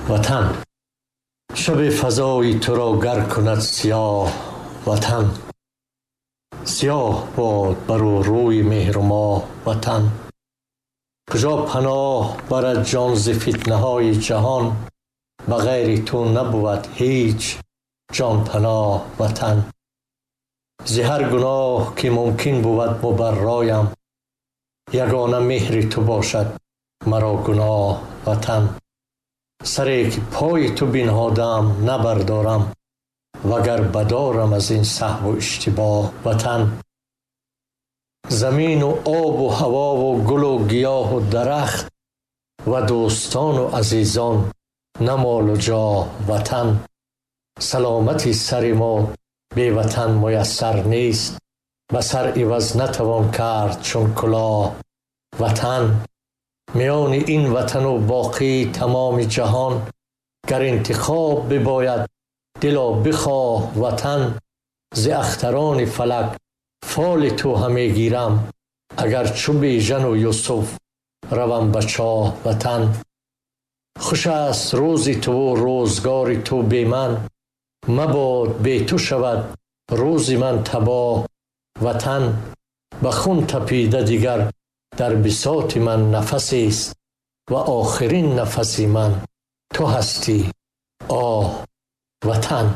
Ватан. Шаби фазои туро гар кунад сиёҳ, Ватан, сиёҳ бод бар ӯ рӯи меҳру моҳ, Ватан. Куҷо паноҳ барад ҷон зи фитнаҳои ҷаҳон, ба ғайри ту набувад ҳеҷ ҷонпаноҳ, Ватан. Зи ҳар гуноҳ ки мумкин бувад мубарроям, ягона меҳри ту бошад маро гуноҳ, Ватан. Саре ки пои ту бинҳодаам набардорам, вагар бадорам аз ин саҳву иштибоҳ, Ватан. Замину обу ҳавову гулу гиёҳу дарахт ва дӯстону азизон, на молу ҷоҳ, Ватан. Саломати сари мо бе Ватан муяссар нест, ба сар иваз натавон кард чун кулоҳ, Ватан. Миёни ин ватану боқии тамоми ҷаҳон, гар интихоб бибояд, дило бихоҳ, Ватан. Зи ахтарони фалак фоли ту ҳаме гирам, агар чу Бежану Юсуф равам ба чоҳ, Ватан. Хуш аст рӯзи туву рӯзгори ту бе ман, мабод бе ту шавад рӯзи ман табоҳ, Ватан. Ба хун тапида дигар дар бисоти ман нафасест ва охирин нафаси ман ту ҳастӣ, оҳ, Ватан.